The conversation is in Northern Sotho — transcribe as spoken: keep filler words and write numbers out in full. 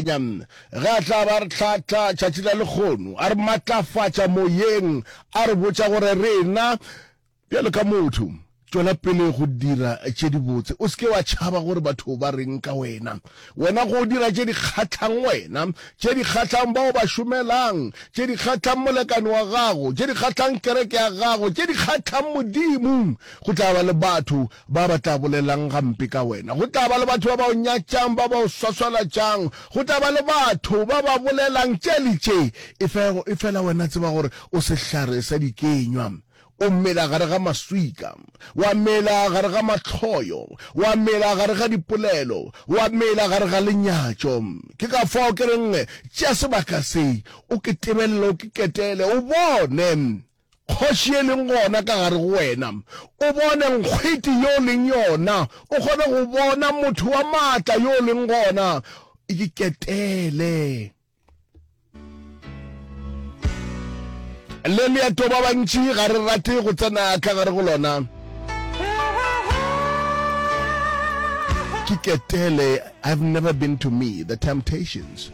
Makwenya ge a tla ba re tlhatla tšatši la lekgono, a re matlafatša moyeng, a re botša gore rena bjalo ka motho tšwela pele go dira tše dibotse, o se ke wa tšhaba gore batho ba reng ka wena. Wena go dira tše di kgahlang wena, tše di kgahlang bao ba šomelang, tše di kgahlang molekane wa gago, tše di kgahlang kereke ya gago, tše di kgahlang Modimo. Go tla ba le batho ba ba tla bolelang gampe ka wena, go tla ba le batho ba ba o nyatšang, ba ba o swaswalatšang, go tla ba le batho ba ba bolelang tše le tše. Efela wena tseba gore o sehlare sa dikenywa, o mela gare ga maswika, wa mela gare ga mahloyo, wa mela gare ga dipolelo, wa mela gare ga lenyatšo. Ke ka fao ke reng, tšea sebaka se, o ke tebelele, o ke ketele, o bone kgoši e leng gona ka gare go wena, o bone nkgwete yo leng yona, o kgone go bona motho wa maatla yo leng gona, e ke ketele. Le leeto ba bantši ga re rate go tsena ka gare go lona. Ke ketele, I've never been to me, The Temptations.